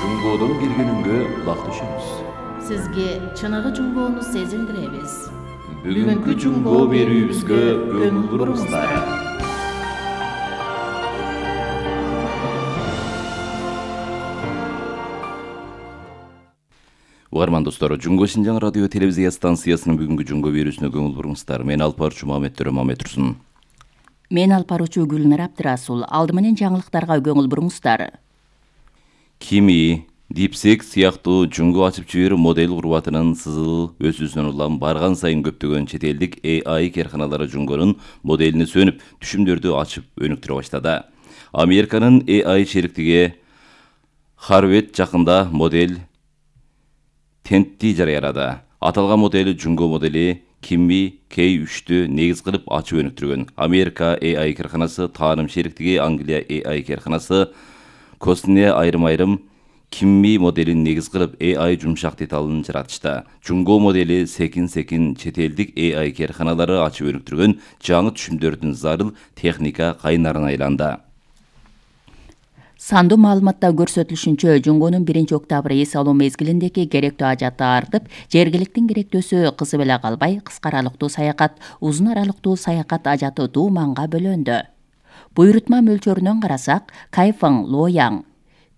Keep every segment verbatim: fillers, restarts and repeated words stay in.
Жунгодон киргенүнгө кулак түшүңүз. Сизге чыныгы жунгоону сезилдиребиз. Бүгүнкү жунгоо берүүбүзгө көңүл буруңуздар. Угарман достор, Жунгоо Шинжаң радио телевизия станциясынын бүгүнкү жунгоо берүүсүнө көңүл буруңуздар. Мен алпарчу Маметтер Маметтурсун. Мен алпарчу Гүлнар Абдырасул. Алды менен жаңылыктарга көңүл буруңуздар. Кими, Дипсек сыяктуу жунгоо ачып жиберүү модель курбатынын сызыл өсүүсүнөн улам барган сайын көптөгөн чет элдик А I карканалары жунгонун моделини сөнүп, түшүмдөрдү ачып өнүктүрө баштады. Американын A I шериктиги Harvard жакында модель Тентти жарыялады. Аталган модель жунгоо модели Кими К үчтү негиз кылып ачып өнүктүргөн. Америка A I карканасы, тааным шериктиги Англия A I карканасы Косне айрым-айрым Кимми моделин негиз кылып A I жумшак деталын жаратышты. Жунгоо модели секин-секин чет элдик A I карканалары ачып өнүктүргөн жаңы түшүмдөрдүн зарыл техника кайнарына айланды. Сандуу маалыматта көрсөтүлүшүнчө, жунгонун биринчи октябрь эс алуу мезгилиндеги керектүү ажаты артып, жергиликтин керектөөсү кызы беле калбай, кыска аралыктуу саякат, узун аралыктуу саякат ажаты дууманга бөлөндү. Буйрутма мөлчөрүнөн карасак, Кайфың, Лояң,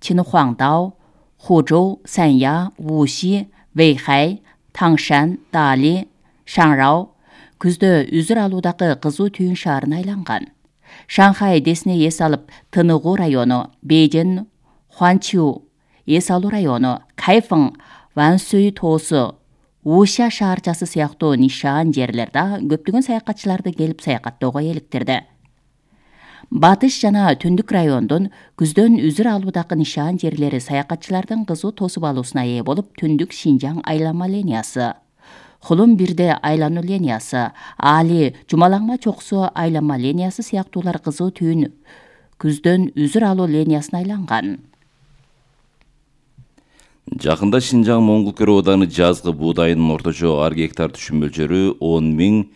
Чинхуаңдао, Хужоу, Санья, Вуши, Вэйхай, Таңшан, Дали, Шаңрау күздө үзүр алуудагы кызуу түйүн шаарына айланган. Шанхай Десне эс алып, Тыныгуу району, Бейжин, Хуанчжоу эс алуу району, Кайфың, Вансүй тоосу, Уша шаарчасы сыяктуу нишан жерлерде көптөгөн саякатчыларды келип саякаттоого эликтирди. Батыш жана түндүк райондун күздөн үзүр алуудагы нишан жерлери саякатчылардын кызуу тосуп алуусуна ээ болуп, түндүк Шинжаң айланма линиясы, Хулун бирде айлануу линиясы, Али Жумалаңма чоксу айланма линиясы сыяктуулар кызуу түйүн күздөн үзүр алуу линиясына айланган. Жакында Шинжаң Моңгол Көрө ооданы жазгы буудайынын орточо ар гектар түшүм мөлчөрү он миң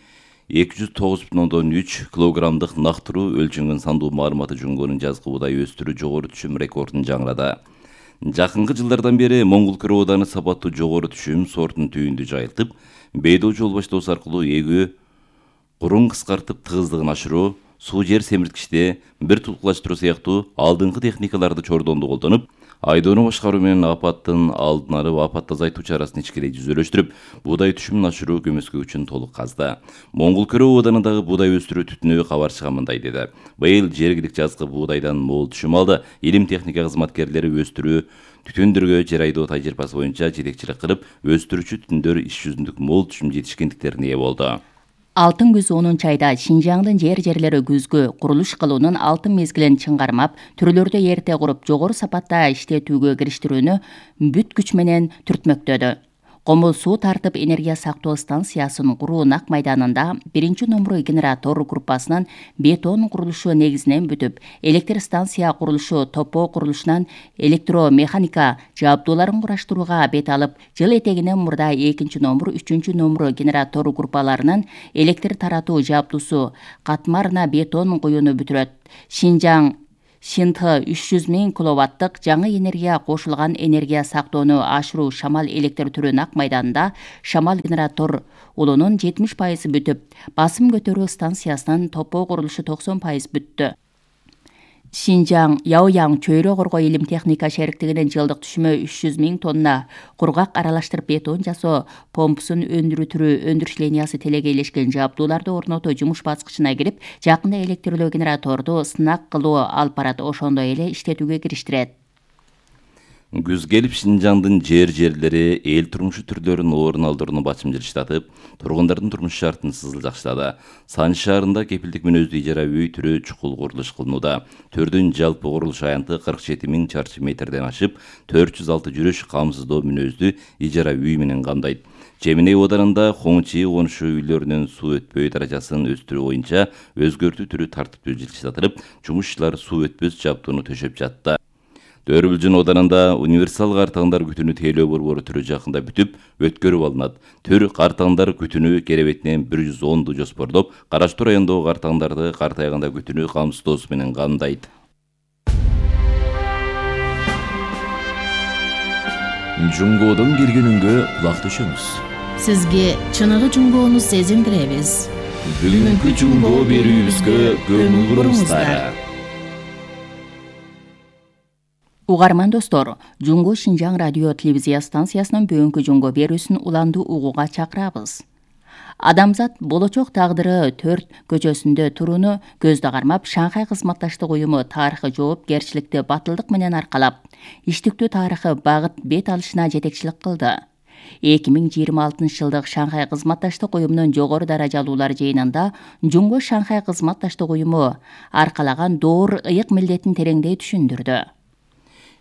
эки жүз тогуз бүтүн ондон үч килограммдык нактыруу өлчөнгөн сандуу маалыматы жунгонун жазгы буудай өстүрүү жогору түшүм рекордун жаңырады. Жакынкы жылдардан бери Моңгол Көрө ооданы сапаттуу жогору түшүм сортун түйүндү жайылтып, бейдоо жол баштоосу аркылуу эгүү курун кыскартып тыгыздыгын ашыруу, суу жер семирткичте бир тулкулаштыруу сыяктуу алдыңкы техникаларды чордонду колдонуп, айдоону башкаруу менен апаттын алдын алып, апатты азайтуу чарасын ичкерей жүзөлөштүрүп, буудай түшүмүн ашыруу көмөскө үчүн толук казды. Моңгол Көрө ооданындагы буудай өстүрүү түтүнү кабарчыга мындай деди. Быйыл жергилик жазгы буудайдан мол түшүм алды. Илим техника кызматкерлери өстүрүү түтүндөргө жер айдоо тажрыйбасы боюнча жетекчилик кылып, өстүрүүчү түтүндөр иш жүзүндүк мол түшүм жетишкендиктерине ээ болду. Алтын күз онунчу айда Шинжаңдын жер жерлери күзгү курулуш кылуунун алтын мезгилин чыңгармап, түрлөрдү эрте куруп, жогору сапатта иштетүүгө кириштирүүнү бүт күч менен түртмөктөдү. Комул суу тартып энергия сактоо станциясын куруу Нак майданында биринчи номуру генератор группасынын бетон курулушу негизинен бүтүп, электр станция курулушу топо курулушунан электромеханика жабдууларын кураштырууга бет алып, жыл этегинен мурда экинчи номур, үчүнчү номуру генератор группаларынын электр таратуу жабдуусу катмарына бетон куюуну бүтүрөт. Шинжаң Шинтхы үч жүз миң киловаттык жаңы энергия кошулган энергия сактоону ашыруу шамал электр түрү Нак майданында шамал генератор улунун жетимиш пайызы бүтүп, басым көтөрүү станциясынын топо курулушу токсон пайыз бүттү. Шинжаң Яояң чөйрө коргоо илим техника шериктигинин жылдык түшүмү үч жүз миң тонна кургак аралаштырып бетон жасоо помпусун өндүрүү түрү өндүрүш линиясы телегейлешкен жабдууларды орнотуу жумуш баскычына кирип, жакында электрлүү генераторду сынак кылуу алып барат, ошондой эле иштетүүгө кириштирет. Күз келип Шинжаңдын жер жерлери эл турмушу түрлөрүнүн орун алдырууну бачымжырыштатып, тургундардын турмуш шартын сызыл жакшылады. Санч шаарында кепилдик мүнөздүү ижара үй түрү чукул курулуш кылынууда. Төрдүн жалпы курулуш аянты кырк жети миң чарчы метрден ашып, төрт жүз алты жүрүш камсыздоо мүнөздүү ижара үй менен камдайт. Жеминей оодарында Хоңчи конушу үйлөрүнүн суу өтпөй даражасын өстүрүү боюнча өзгөртүү түрү тартиптүү жылыштатылып, жумушчулар суу өтпөс жабдууну төшөп жатты. Дөрүбүлжүн оодарында универсал картаңдар күтүнү тейлөө борбору түрү жакында бүтүп, өткөрүп алынат. Төр картаңдар күтүнү керебетинен бир жүз онду жоспорлоп, Караштуу райондогу картаңдарды картайганда күтүнү камсыздоосу менен камдайт. Жунгодон келгенүнгө кулак төшөңүз. Сизге чыныгы жунгоону сезиндиребиз. Бүгүнкү жунгоо берүүбүзгө көңүл буруңуздар. Угарман достор, Жунго Шинжаң радио телевизия станциясынын бүгүнкү жунгоо берүүсүн уланду угууга чакырабыз. Адамзат болочок тагдыры төрт көчөсүндө турууну көздө кармап, Шанхай кызматташтык уюму тарыхый жоопкерчиликти батылдык менен аркалап, иштиктүү тарыхый багыт бет алышына жетекчилик кылды. эки миң жыйырма алтынчы жылдык Шанхай кызматташтык уюмунун жогору даражалуулар жыйынында Жунго Шанхай кызматташтык уюму аркалаган доор ыйык милдетин тереңдей түшүндүрдү.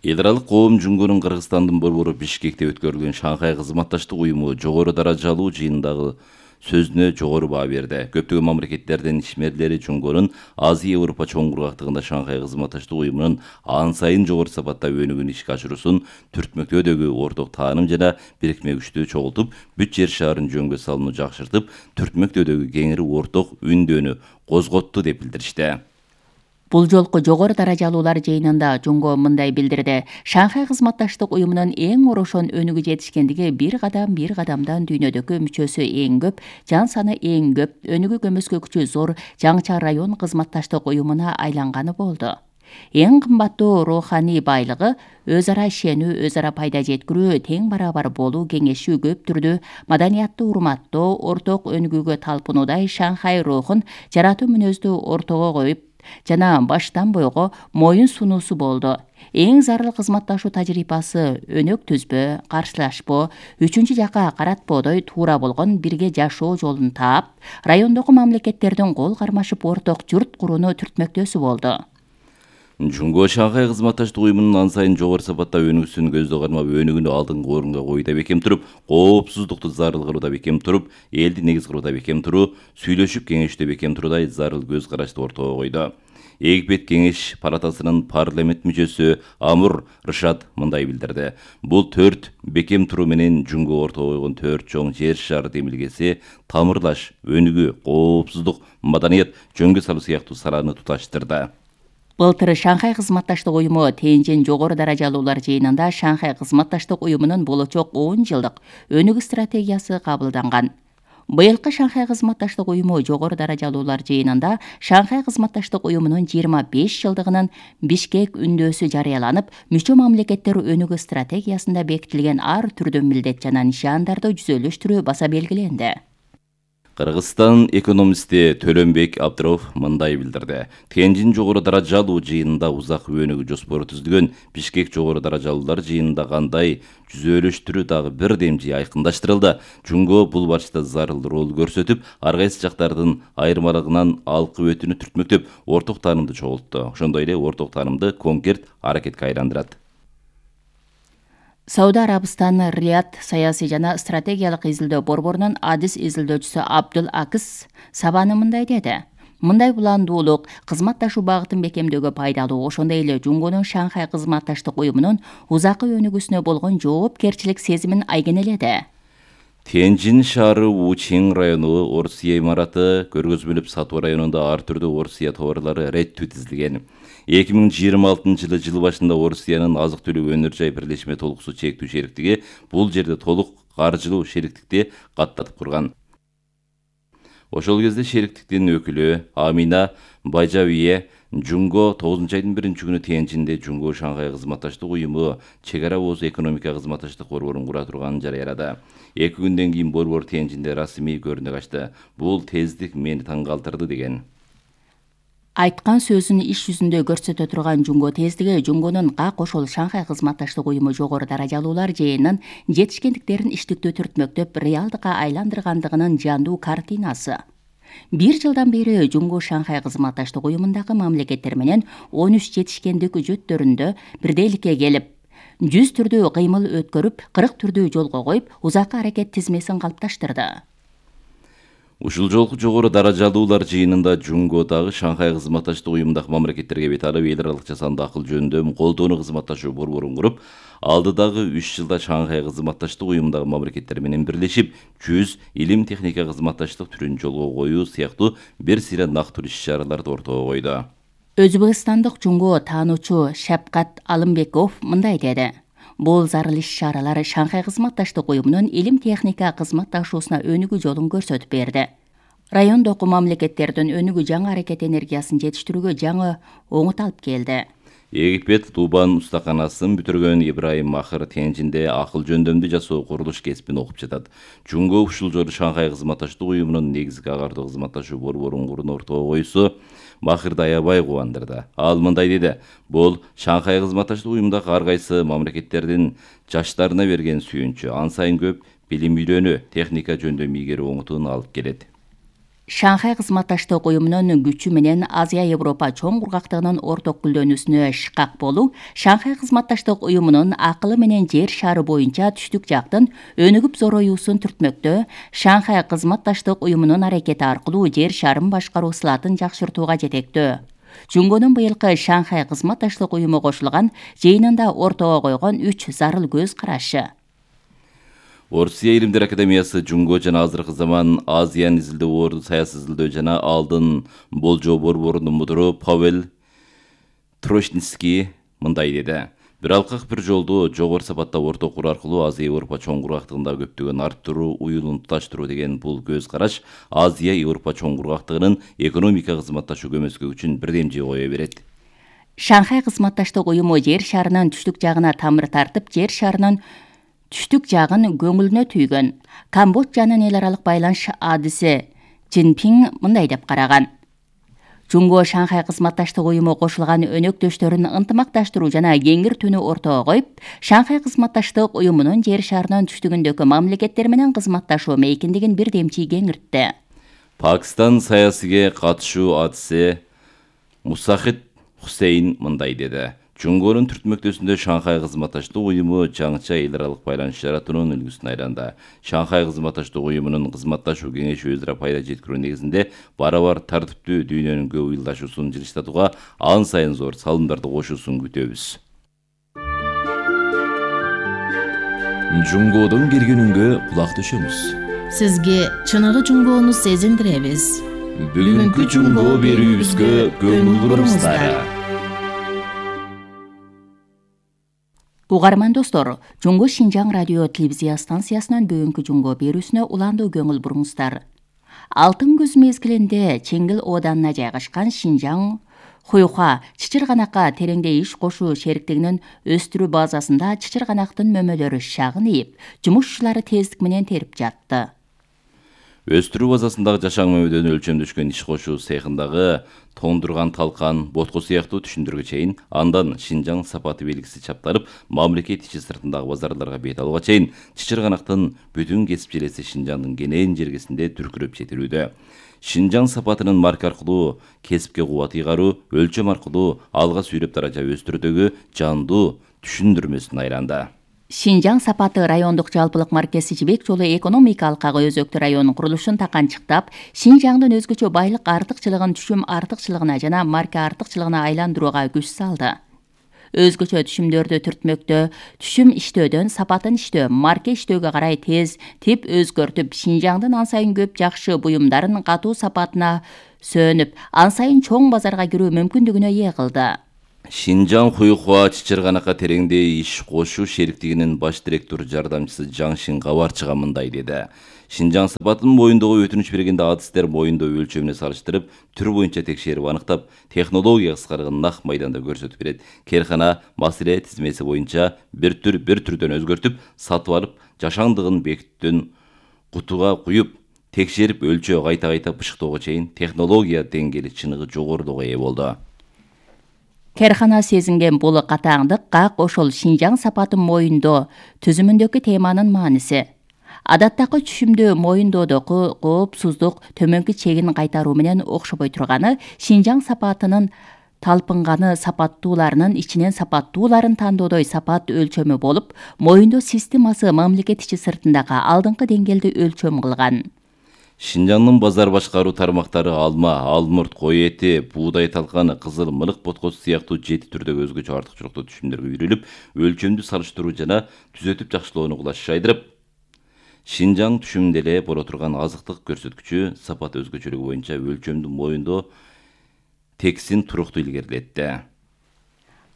Эл аралык коом Жунгонун Кыргызстандын борбору Бишкекте өткөрүлгөн Шанхай кызматташтык уюму жогору даражалуу жыйындагы сөзүнө жогору баа берди. Көптөгөн мамлекеттердин ишмерлери Жунгонун Азия Европа чоң кургактыгында Шанхай кызматташтык уюмунун ан сайын жогору сапатта өнүгүүнү ишке ашыруусун түртмөктөөдөгү орток тааным жана бирикме күчтү чогултуп, бүт жер шаарын жөнгө салууну жакшыртып, түртмөктөөдөгү кеңири орток үндөнү козготту деп билдиришти. Бул жолку жогору даражалуулар жыйынында Жунго мындай билдирди. Шанхай кызматташтык уюмунун эң орошон өнүгүү жетишкендиги бир кадам бир кадамдан дүйнөдөгү мүчөсү эң көп, жан саны эң көп, өнүгүү көмөскө күчү зор жаңча район кызматташтык уюмуна айланганы болду. Эң кымбаттуу руханий байлыгы өз ара ишенүү, өз ара пайда жеткирүү, тең барабар болуу, кеңешүү, көп түрдүү маданиятты урматтоо, орток өнүгүүгө талпынуудай Шанхай рухун жаратуу мүнөздү ортого коюп жана баштан бойго моюн сунуусу болду. Эң зарыл кызматташуу тажрыйбасы өнөк түзбө, каршылашпоо, үчүнчү жака каратпоодой туура болгон бирге жашоо жолун таап, райондогу мамлекеттердин кол кармашып орток журт курууну түртмөктөөсү болду. Жунго Шанхай кызматташтык уюмунун ан сайын жогору сапатта өнүгүүсүн көздө кармап, өнүгүүнү алдыңкы орунга койууда бекем туруп, коопсуздукту зарыл кылууда бекем туруп, элди негиз кылууда бекем туруу, сүйлөшүп кеңешүүдө бекем туруудай зарыл көз карашты ортого койду. Эгипет кеңеш палатасынын парламент мүчөсү Амур Рышат мындай билдирди. Бул төрт бекем туруу менен Жунго ортого койгон төрт чоң жер шары демилгеси тамырлаш, өнүгүү, коопсуздук, маданият, жөнгө салуу сыяктуу саланы туташтырды. Былтыр Шанхай кызматташтык уюму Тенжин жогору даражалуулар жыйынында Шанхай кызматташтык уюмунун болочок он жылдык өнүгүү стратегиясы кабылданган. Быйылкы Шанхай кызматташтык уюму жогору даражалуулар жыйынында Шанхай кызматташтык уюмунун жыйырма беш жылдыгынын Бишкек үндөөсү жарыяланып, мүчө мамлекеттер өнүгүү стратегиясында бекитилген ар түрдүү милдет жана нишандарды жүзөлүштүрүү баса белгиленди. Кыргызстан экономисти Төлөнбек Абдыров мындай билдирди. Тенжин жогору даражалуу жыйынында узак өнүгүү жоспору түзүлгөн, Бишкек жогору даражалуулар жыйынында кандай жүзөлүштүрүү дагы бир демжи айкындаштырылды. Жунго бул барышта зарыл рол көрсөтүп, ар кайсы жактардын айырмалыгынан алкып өтүүнү түртмөктөп, орток таанымды чогултту. Ошондой эле орток таанымды конкрет аракетке айландырат. Сауд Арабистаны Рият саясий жана стратегиялык изилдөө борборунун адис изилдөөчүсү Абдул Акис Сабаны мындай деди. Мындай уландуулук кызматташуу багытын бекемдөөгө пайдалуу, ошондой эле Жунгонун Шанхай кызматташтык уюмунун узакы өнүгүүсүнө болгон жоопкерчилик сезимин айгинеледи. Тенжин шаары Учин району Орусия имараты көргөзмөлүп сатуу районунда ар түрдүү Орусия товарлары реттүү тизилген. эки миң жыйырма алтынчы жылы жыл башында Орусиянын азык-түлүк өнөр жай бирлешме толугусу чектүү шериктиги бул жерде толук каржылуу шериктикти каттатып курган. Ошол кезде шериктиктин өкүлү Амина Байжавие Жунго тогузунчу айдын биринчи күнү Тенжинде Жунго Шанхай кызматташтык уюму чек ара ооз экономика кызматташтык борборун кура турганын жарыялады. Эки күндөн кийин борбор Тенжинде расмий көрүнүк ачты. Бул тездик мени таң калтырды деген. Айткан сөзүн иш жүзүндө көрсөтө турган Жунго тездиги Жунгонун как ошол Шанхай кызматташтык уюму жогору даражалуулар жыйынын жетишкендиктерин иштиктүү түртмөктөп реалдыкка айландыргандыгынын жандуу картинасы. Бир жылдан бери Жунго Шанхай кызматташтык уюмундагы мамлекеттер менен он үч жетишкендик үжөттөрүндө бирдейликке келип, жүз түрдүү кыймыл өткөрүп, кырк түрдүү жолго коюп, узакы аракет тизмесин калыпташтырды. Ушул жолку жогору даражалуулар жыйынында Жунго дагы Шанхай кызматташтык уюмундагы мамлекеттерге бет алып, эл аралык жасанды акыл жөнүндө колдоону кызматташуу борборун куруп, алдыдагы үч жылда Шанхай кызматташтык уюмундагы мамлекеттер менен бирлешип, жүз илим техника кызматташтык түрүн жолго коюу сыяктуу бир сыйра нактуу иш-чараларды ортого койду. Өзбекстандык Жунго таануучу Шапкат Алымбеков мындай деди. Бул зарыл иш-чаралар Шанхай кызматташтык уюмунун илим техника кызматташуусуна өнүгүү жолун көрсөтүп берди. Райондогу мамлекеттердин өнүгүү жаңы аракет энергиясын жетиштирүүгө жаңы оңут алып келди. Египет Тубан устаканасын бүтүргөн Ибраим Махыр Тенжинде акыл жөндөмдү жасоо курулуш кесибин окуп жатат. Жунго ушул жолу Шанхай кызматташтык уюмунун негизги агартуу кызматташуу борборун курууну ортого койсо, Махырды аябай кубандырды. Ал мындай деди: "Бул Шанхай кызматташтык уюмундагы ар кайсы мамлекеттердин жаштарына берген сүйүнчү, ан сайын көп билим үйрөнүү, техника жөндөм ийгерүү оңутууну алып келет." Шанхай кызматташтык уюмунун күчү менен Азия Европа чоң кургактыгынын орток гүлдөнүүсүнө шыкак болуу Шанхай кызматташтык уюмунун акылы менен жер шары боюнча түштүк жактын өнүгүп зороюусун түртмөктө, Шанхай кызматташтык уюмунун аракети аркылуу жер шарын башкаруу сылатын жакшыртууга жетектөө. Жунгонун быйылкы Шанхай кызматташтык уюму кошулган жыйынында ортого койгон үч зарыл көз карашы. Орусия илимдер академиясы Жунго жана азыркы заман Азияны изилдөө орду саясий изилдөө жана алдын болжоо борборунун мудуру Павел Трошницкий мындай деди: "Бир алкак бир жолду жогору сапатта орто куруу аркылуу Азия Европа чоң кургактыгында көптөгөн арттыруу, уюлун туташтыруу деген бул көз караш Азия Европа чоң кургактыгынын экономика кызматташуу көмөскө үчүн бирдемчи кое берет." Шанхай кызматташтык уюму жер шарынын түштүк жагына тамыр тартып, жер шарынын түштүк жагын көңүлүнө түйгөн. Камбоджанын эл аралык байланыш адиси Цзиньпин мындай деп караган: "Жунго Шанхай кызматташтык уюму кошулган өнөктөштөрүн ынтымакташтыруу жана кеңир түнү ортого коюп, Шанхай кызматташтык уюмунун жер шарынын түштүгүндөгү мамлекеттер менен кызматташуу мейкиндигин бирдемчи кеңиртти." Пакистан саясийге катышуу адиси Мусахид Хусейн мындай деди: "Жунгонун түртмөктөсүндө Шанхай кызматташтык уюму жаңыча эл аралык байланыш жаратуунун үлгүсүн айланды. Шанхай кызматташтык уюмунун кызматташуу кеңеши өз ара пайда жеткирүү негизинде бара-бар тартиптүү дүйнөнүн көп ыйлдашуусун жылыштатууга ан сайын зор салымдарды кошуусун күтөбүз." Жунгодон келген үнгө кулак түшөңүз. Сизге чыныгы жунгоону сезиндиребиз. Бүгүнкү жунгоо берүүбүзгө көңүл буруңуздар. Угарман достор, Жунго Шинжаң радио телевизия станциясынын бүгүнкү жунгоо берүүсүнө уландуу көңүл буруңуздар. Алтын күз мезгилинде Чеңгил ооданына жайгашкан Шинжаң Хуйха чычырганакка тереңде иш кошуу шериктигинин өстүрүү базасында чычырганактын мөмөлөрү шагын ийип, жумушчулары тездик менен терип жатты. Өстүрүү базасындагы жашаң мөмөдөн өлчөмдөшкөн иш кошуу цехиндагы тоңдурган талкан, ботко сыяктуу түшүндүргө чейин, андан Шинжаң сапаты белгиси чапталып, мамлекет ичи сыртындагы базарларга бет алууга чейин чычырганактын бүтүн кесип желеси Шинжаңдын кенен жергесинде түркүрөп жетилүүдө. Шинжаң сапатынын марка аркылуу кесипке кубат ыйгаруу, өлчөм аркылуу алга сүйрөп даража өстүрүүдөгү жандуу түшүндүрмөсүн айланды. Шинжаң сапаты райондук жалпылык маркеси Жибек жолу экономика алкагы өзөктүү районунун курулушун таканчыктап, Шинжаңдын өзгөчө байлык артыкчылыгын түшүм артыкчылыгына жана марка артыкчылыгына айландырууга күч салды. Өзгөчө түшүмдөрдү түртмөктө, түшүм иштөөдөн сапатын иштөө, марка иштөөгө карай тез тип өзгөртүп, Шинжаңдын ан сайын көп жакшы буюмдарын катуу сапатына сөөнүп, ан сайын чоң базарга кирүү мүмкүндүгүнө ээ кылды. Шинжаң Хуйхуа чычырганакка тереңде иш кошуу шериктигинин баш директор жардамчысы Жаңшин Кабарчыга мындай деди: "Шинжаң сапатынын моюндогу өтүнүч бергенде адистер моюндоо өлчөмүнө салыштырып, түр боюнча текшерип аныктап, технология кыскарыгын нак майданда көрсөтүп берет. Керкана маселе тизмеси боюнча бир түр бир түрдөн өзгөртүп, сатып алып, жашаңдыгын бекиттен кутуга куюп, текшерип өлчөө кайта-кайта бышыктоого чейин технология деңгээли чыныгы жогорулугу ээ болду." Керкана сезинген бул катаңдык как ошол Шинжаң сапатын моюндоо түзүмүндөгү теманын мааниси. Адаттагы түшүмдүү моюндоодогу коопсуздук төмөнкү чегин кайтаруу менен окшобой турганы, Шинжаң сапатынын талпынганы сапаттууларынын ичинен сапаттууларын тандоодой сапат өлчөмү болуп, моюндоо системасы мамлекет ичи сыртындагы алдыңкы деңгээлде өлчөм кылган. Шинжаңдын базар башкаруу тармактары алма, алмурт, кой эти, буудай талканы, кызыл мылык боткосу сыяктуу жети түрдөгү өзгөчө артыкчылыктуу түшүмдөргө үйрүлүп, өлчөмдү салыштыруу жана түзөтүп жакшылоону кулаш жайдырып, Шинжаң түшүмүндө эле боло турган азыктык көрсөткүчү сапат өзгөчөлүгү боюнча өлчөмдү моюндоо тексин туруктуу илгерилетти.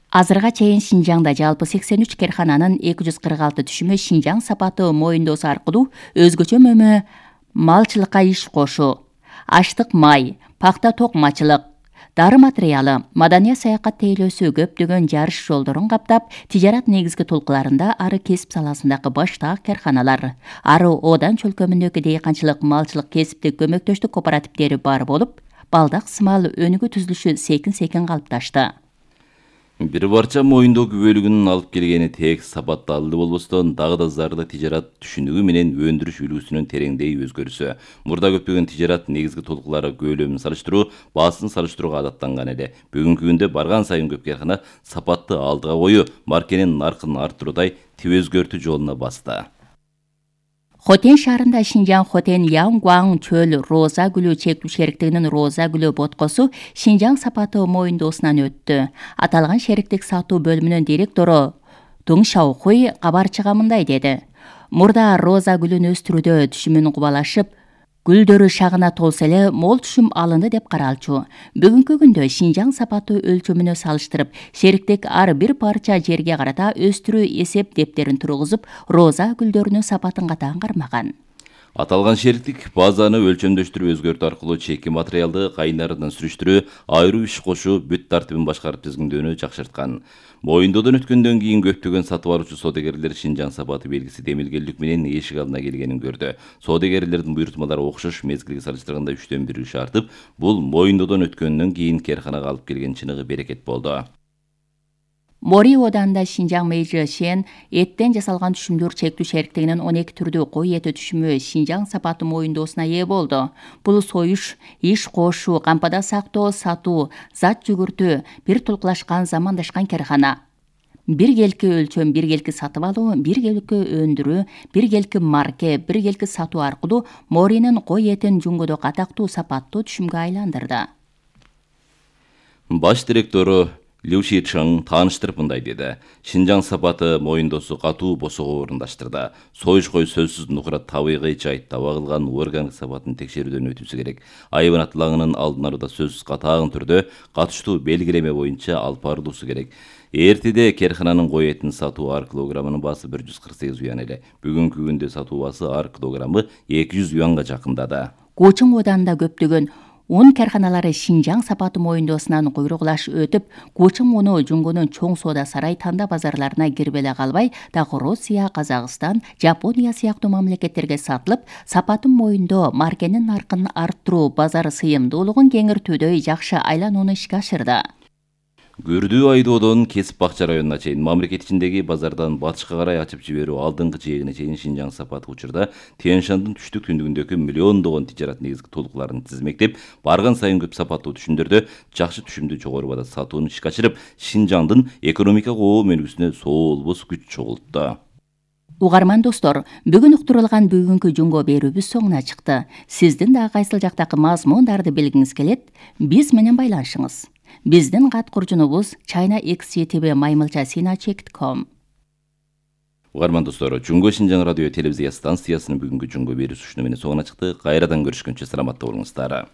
Азырга чейин Шинжаңда жалпы сексен үч керкананын эки жүз кырк алты түшүмү Шинжаң сапаты моюндоосу аркылуу өзгөчө мөмө малчылыкка иш кошуу, аштык май, пакта токмачылык, дары материалы, маданият саякат тейлөөсү көптөгөн жарыш жолдорун каптап, тижарат негизги толкуларында ары кесип саласындагы баштаак керканалар, ары Одан чөлкөмүндөгү дейканчылык, малчылык кесиптик көмөктөштүк кооперативдери бар болуп, балдак сымал өнүгүү түзүлүшү секин-секин калыпташты. Бир барча моюндоо күбөлүгүнүн алып келгени тек сапатталды болбостон, дагы да зарда тижарат түшүнүгү менен өндүрүш үлгүсүнүн тереңдей өзгөрүсү. Мурда көптөгөн тижарат негизги толкулары көлөмүн салыштыруу, баасын салыштырууга адаттанган эле. Бүгүнкү күндө барган сайын көп керкана сапатты алдыга коюу, маркенин наркын арттыруудай тип өзгөртүү жолуна басты. Хотен шаарында Шинжаң Хотен Янгуаң чөл роза гүлү чектүү шериктигинин роза гүлү боткосу Шинжаң сапаты моюндоосунан өттү. Аталган шериктик сатуу бөлүмүнүн директору Дуң Шаохуй кабарчыга мындай деди. Мурда роза гүлүн өстүрүүдө түшүмүн кубалашып, гүлдөрү шагына толсо эле мол түшүм алынды деп каралчу. Бүгүнкү күндө Шинжаң сапаты өлчөмүнө салыштырып, шериктик ар бир парча жерге карата өстүрүү эсеп дептерин тургузуп, роза гүлдөрүнүн сапатын катаан кармаган. Аталган шериктик базаны өлчөмдөштүрүп өзгөртүү аркылуу чеки материалды кайнарынан сүрүштүрүү, айруу иш кошуу, бүт тартибин башкарып тизгиндөөнү жакшырткан. Моюндоодон өткөндөн кийин көптөгөн сатып алуучу содегерлер Шинжаң сапаты белгиси демилгелдик менен эшик алдына келгенин көрдү. Содегерлердин буйрутмалары окшош мезгилге салыштырганда үчтөн бир үш артып, бул моюндоодон өткөндөн кийин керканага алып келген чыныгы берекет болду. Мори Оданында Шинжаң Мэйжи Шен эттен жасалган түшүмдөр чектүү шериктигинин он эки түрдүү кой эти түшүмү Шинжаң сапаты моюндоосуна ээ болду. Бул союш, иш кошуу, кампада сактоо, сатуу, зат жүгүртүү, бир толкулашкан замандашкан керкана. Биргелки өлчөм, биргелки сатып алуу, биргелки өндүрүү, биргелки марке, биргелки сатуу аркылуу Моринин кой этин жунгодо катактуу сапаттуу түшүмгө айландырды. Баш директору Лю Шичың тааныштырып мындай деди. Шинжаң сапаты моюндоосу катуу босого орундаштырды. Союш кой сөзсүз нукура табигый жайт таба кылган органик сапатын текшерүүдөн өтүүсү керек. Айбанат лаңынын алдын алууда сөзсүз катаагын түрдө катыштуу белгилеме боюнча алып барылуусу керек. Эртеде керкананын кой этин сатуу ар килограммынын баасы бир жүз кырк сегиз юан эле. Бүгүнкү күндө сатуу баасы ар килограммы эки жүз юанга жакындады. Кучуң Оданында көптөгөн Un керканалары Шинжаң сапаты моюндоосунан куйругулаш өтүп, Кучуң уну Жунгунун чоң соода сарай танда базарларына кирбеле калбай, дагы Россия, Казакстан, Жапония сыяктуу мамлекеттерге сатылып, сапатын моюндоо маркенин наркын арттыруу, базар сыйымдуулугун кеңиртүүдө жакшы айланууну ишке ашырды. Күрдүү айдоодон Кесип Бакча районуна чейин мамлекет ичиндеги базардан батышка карай ачып жиберүү алдыңкы жээгине чейин Шинжаң сапаты учурда Тянь-Шандын түштүк түндүгүндөгү миллиондогон тижарат негизги толкуларын тизмектеп, барган сайын көп сапаттуу түшүмдөрдө жакшы түшүмдүү жогору баада сатууну ишке ашырып, Шинжаңдын экономикага оо өнүгүүсүнө соолбос күч чогултtu. Угарман достор, бүгүн уктурулган бүгүнкү жунго берүүбүз соңуна чыкты. Сиздин да кайсыл жактагы мазмундарды билгиңиз келет, биз менен байланышыңыз. Биздин кат куржунубуз China X C T V маймылча сина чек ком. Угарман достор, Жунго Шинжаң радио телевизия станциясынын бүгүнкү жунго берүүсү ушуну менен соңуна чыкты. Кайрадан көрүшкөнчө саламатта болуңуздар.